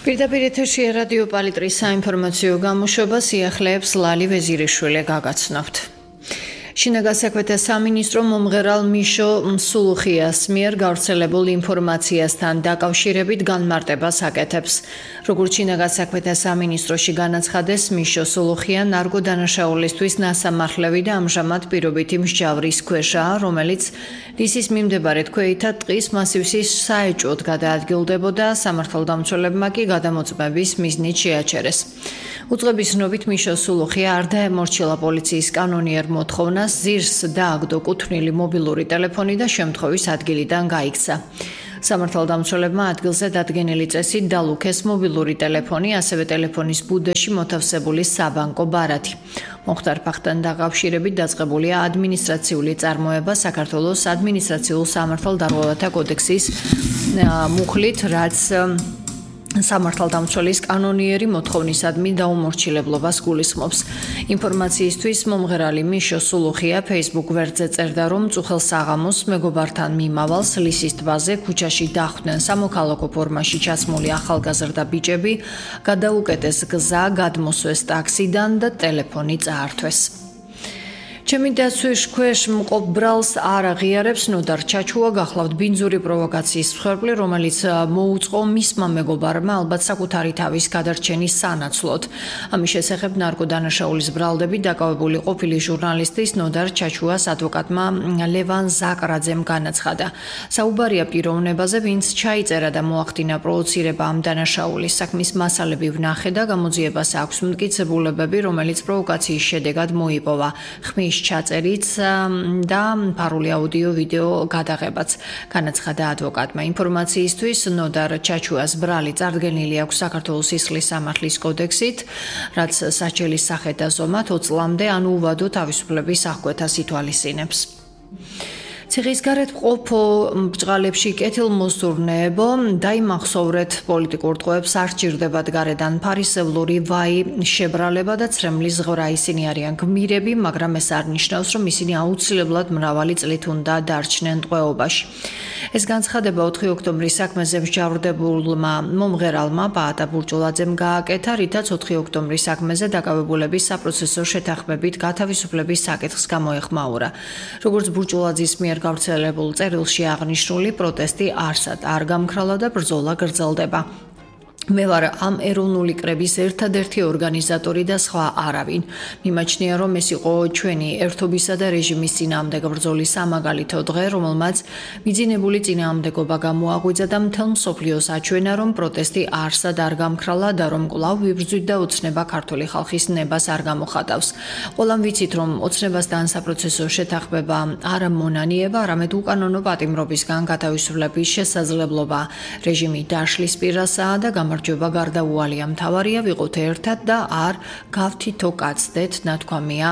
პირდაპირ ეთერში რადიო პალიტრის საინფორმაციო გამოშვება სიახლეებს ლალი ვეზირიშვილი გაგაცნობთ. შინაგან საქმეთა სამინისტრო მომღერალ მიშო სულუხიას მიერ გავრცელებულ ინფორმაციასთან დაკავშირებით განმარტებას აკეთებს. როგორც შინაგან საქმეთა სამინისტროში განაცხადეს, მიშო სულუხია ნარგო დანაშაულისთვის ნასამართლევი და ამჟამად პირობითი მსჯავრის ქვეშაა, რომელიც რისის მიმდებარე თქვეითად ტყის მასივსის საეჭვოდ გადაადგილდებოდა, სამართალდამცველებმა კი გადამოწმების მიზნით შეაჩერეს. უწყების ცნობით მიშო სულუხია არ დაემორჩილა პოლიციის კანონიერ მოთხოვნას, ზირს დააგდო კუთვნილი მობილური ტელეფონი და შემთხვევის ადგილიდან გაიქცა. სამართალდამცველებმა ადგილზე დადგენილი წესით დალუქეს მობილური ტელეფონი, ასევე ტელეფონის ბუდეში მოთავსებული საბანკო ბარათი. მოხდარ ფაქტთან დაკავშირებით დაწყებულია ადმინისტრაციული წარმოება საქართველოს ადმინისტრაციულ სამართალდამცველთა კოდექსის მუხლით, რაც სამართალდამცველის კანონიერი მოთხოვნისადმი დაუმორჩილებლობას გულისხმობს. ინფორმაციისთვის მომღერალი მიშო სულუხია Facebook გვერდზე წერდა, რომ წუხელ საღამოს მეგობართან მიმავალს ლისის ტბაზე ქუჩაში დახვდნენ სამოქალაქო ფორმაში ჩაცმული ახალგაზრდა ბიჭები, გადაუკეტეს გზა, გადმოსვეს ტაქსიდან და ტელეფონი წაართვეს. ჩემი დაცვის ქვეშ მყოფ ბრალს არ აღიარებს ნოდარ ჩაჩუა გახლავთ ბინძური პროვოკაციის მსხვერპლი, რომელიც მოუწყო მისმა მეგობარმა ალბათ საკუთარი თავის გადარჩენის სანაცვლოდ. ამის შესახებ ნარკოდანაშაულის ბრალდებით დაკავებული ყოფილი ჟურნალისტის ნოდარ ჩაჩუას ადვოკატმა ლევან ზაკრაძემ განაცხადა. საუბარია პიროვნებაზე, ვინც ჩაიწერა და მოახდინა პროვოცირება ამ დანაშაულის. საქმის მასალები ვნახე და გამოძიებას აქვს მტკიცებულებები, რომელიც პროვოკაციის შედეგად მოიპოვა. ხმის ჩაწერიც და ფარული აუდიო-ვიდეო გადაღებაც, განაცხადა ადვოკატმა. ინფორმაციისთვის ნოდარ ჩაჩუას ბრალი წარდგენილი აქვს საქართველოს სისხლის სამართლის კოდექსით, რაც საჩელის სახეთ და ზომად 20 წლამდე ან უვადო თავისუფლების აღკვეთას ითვალისწინებს. ციხის გარეთ ყოფო ბჭყალებში კეთილმოსურნეებო, დაიმახსოვრეთ პოლიტიკურ ტყვეებს არ სჭირდებათ გარედან ფარისევლური ვაი, შებრალება და ცრემლის ზღვრა. ისინი არიან გმირები, მაგრამ ეს არ ნიშნავს, რომ ისინი აუცილებლად მრავალი წლით უნდა დარჩნენ ტყვეობაში. ეს განცხადება 4 ოქტომბრის საქმეზე მსჯავრდებულმა მომღერალმა პაატა ბურჯულაძემ გააკეთა, რითაც 4 ოქტომბრის საქმეზე დაკავებულების საპროცესო შეთანხმებით გათავისუფლების საკითხს გამოეხმაურა. როგორც ბურჯულაძის მიერ გავრცელებულ წერილში აღნიშნული, პროტესტი არსად არ გამქრალა და ბრძოლა გრძელდება. მე ვარ ამ ეროვნული კრების ერთადერთი ორგანიზატორი და სხვა არავინ. მიმაჩნია, რომ ეს იყო ჩვენი ერთობისა და რეჟიმის წინააღმდეგ ბრძოლის სამაგალითო დღე, რომელმაც მიძინებული წინააღმდეგობა გამოაღვიძა და მთელ მსოფლიოს აჩვენა, რომ პროტესტი არსად არ გამქრალა და რომ კვლავ ვიბრძვით და ოცნება ქართული ხალხის ნებას არ გამოხატავს. ყველამ ვიცით, რომ ოცნებასთან საპროცესო შეთანხმება არ მონანიება, არამედ უკანონო პატიმრობისგან გათავისუფლების შესაძლებლობა. რეჟიმი დაშლის პირასაა და გამარჯვება გარდაუვალია. მთავარია ვიყოთ ერთად და არ გავთითო კაცდეთ, ნათქვამია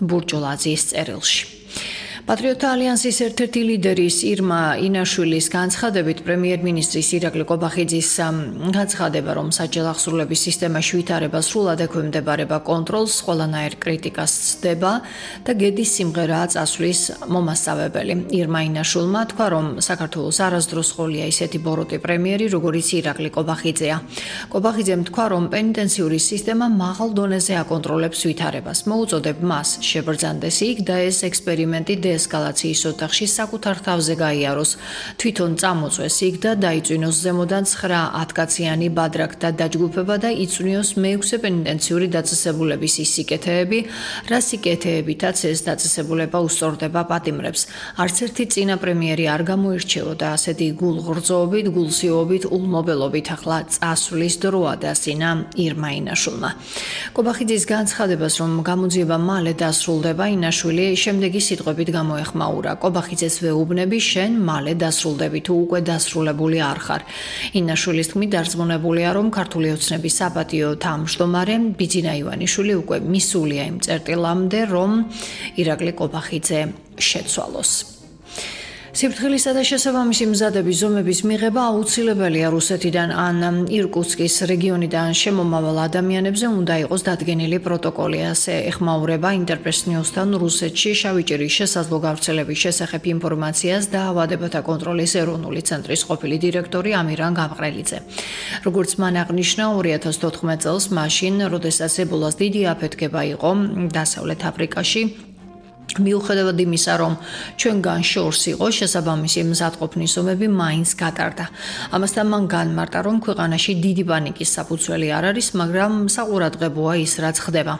ბურჯულაძის წერილში. პატრიოტთა ალიანსის ერთ-ერთი ლიდერის ირმა ინაშვილის განცხადებით, პრემიერ-მინისტრის ირაკლი ყობახიძის განცხადება, რომ საჯარო აღსრულების სისტემაში ვითარება სრულად ექვემდებარება კონტროლს, ყველანაირ კრიტიკას ცდება და გედის სიმღერაა წასვლის მომასწავებელი. ირმა ინაშვილმა თქვა, რომ საქართველოს არასდროს ყოლია ისეთი ბოროტი პრემიერი, როგორიც ირაკლი ყობახიძეა. ყობახიძემ თქვა, რომ პენიტენციური სისტემა მაღალ დონეზე აკონტროლებს ვითარებას. მოუწოდებ მას შებრძანდეს იქ და ეს ექსპერიმენტი ესკალაციის ოთახში საკუთარ თავზე გაიაროს, თვითონ წამოწვეს იქ და დაიწვინოს ზემოდან 9-10 კაციანი ბადრაკთა დაჯგუფება და იწვნიოს მე-6 პენიტენციური დაწესებულების ის სიკეთეები, რა სიკეთეებითაც ეს დაწესებულება უსწორდება პატიმრებს. არც ერთი წინა პრემიერი არ გამოირჩეოდა ასეთი გულღრძობით, გულსიობით, ულმობელობით. ახლა წასვლის დროა დასინა ირმა ინაშვილმა. ყობახიძის განცხადებას, რომ გამოძიება მალე დასრულდება, ინაშვილი შემდეგი სიტყვებით გამოეხმაურა. ყობახიძეს ვეუბნები, შენ მალე დასრულდები, თუ უკვე დასრულებული არ ხარ. ინაშვილის თქმით, დარწმუნებულია, რომ ქართული ოცნების საპატიო თავმჯდომარე ბიძინა ივანიშვილი უკვე მისულია იმ წერტილამდე, რომ ირაკლი ყობახიძე შეცვალოს. სიფრთხილისა და შესაბამისი მზადების ზომების მიღება აუცილებელია რუსეთიდან ან ირკუტსკის რეგიონიდან შემომავალ ადამიანებზე უნდა იყოს დადგენილი პროტოკოლი, ასე ეხმაურება Interpress News-თან რუსეთში შავიჭირის შესაძლო გავრცელების შესახებ ინფორმაციას დაავადებათა კონტროლის ეროვნული ცენტრის ყოფილი დირექტორი ამირან გამყრელიძე. როგორც მან აღნიშნა, 2014 წელს მაშინ, როდესაც ებოლას დიდი აფეთქება იყო დასავლეთ აფრიკაში, მიუხედავად იმისა, რომ ჩვენგან შორს იყო შესაბამისი მზადყოფნის ზომები მაინც გატარდა. ამასთან მან განმარტა, რომ ქვეყანაში დიდი პანიკის საფუძველი არ არის, მაგრამ საყურადღებოა ის, რაც ხდება.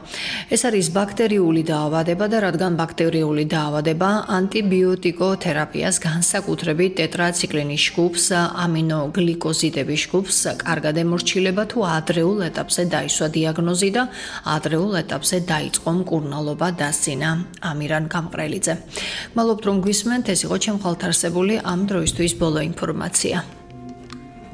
ეს არის ბაქტერიული დაავადება და რადგან ბაქტერიული დაავადება ანტიბიოტიკოთერაპიას, განსაკუთრებით ტეტრაციკლინის ჯგუფს, ამინოგლიკოზიდების ჯგუფს კარგად ემორჩილება თუ ადრეულ ეტაპზე დაისვა დიაგნოზი და ადრეულ ეტაპზე დაიწყო მკურნალობა, დასძინა ამირან გამყრელიძე. მადლობთ, რომ გვისმენთ, ეს იყო ჩემ ხალხთ არსებული ამ დროისთვის ბოლო ინფორმაცია.